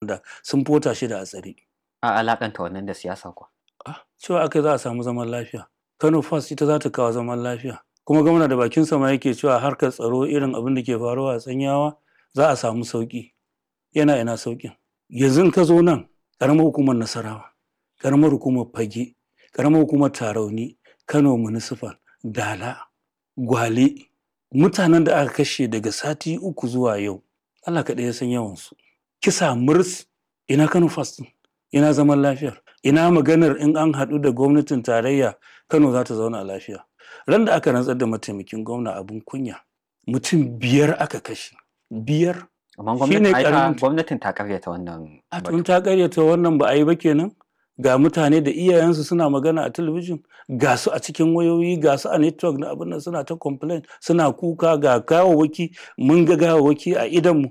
Da sun fota shida a tsare. A alakanta wannan da siyasa kuwa. Ah, cewa aka za a samu zaman lafiya. Kano First ita za ta kawo zaman lafiya. Kuma gwamna da bakin sama yake cewa harkar tsaro irin abin da ke faruwa a Tsanyawa za a samu sauki. Yana ina saukin. Yanzu in ka zo nan ƙaramar hukumar Nasarawa, ƙaramar hukumar Fage, ƙaramar hukumar Tarauni, Kano Municipal, Dala, Gwale, mutanen da aka kashe daga sati 3 zuwa yau, Allah kaɗai ya san yawansu. Kisa murs ina Kano First ɗin? Ina zaman lafiyar? Ina maganar in an haɗu da gwamnatin tarayya Kano za ta zauna lafiya. Ran da aka rantsar da mataimakin gwamna abin kunya, mutum 5 aka kashe. 5. Amma Shi ne gwamnatin ai ta ƙaramin gwamnatin ta karyata wannan A batu. tun ta karyata wannan ba a yi ba kenan. Ga mutane da iyayensu suna magana a talabijin, ga su a cikin wayoyi, ga su a network na abin nan suna ta complain, suna kuka ga gawawwaki, mun ga gawawwaki a idonmu.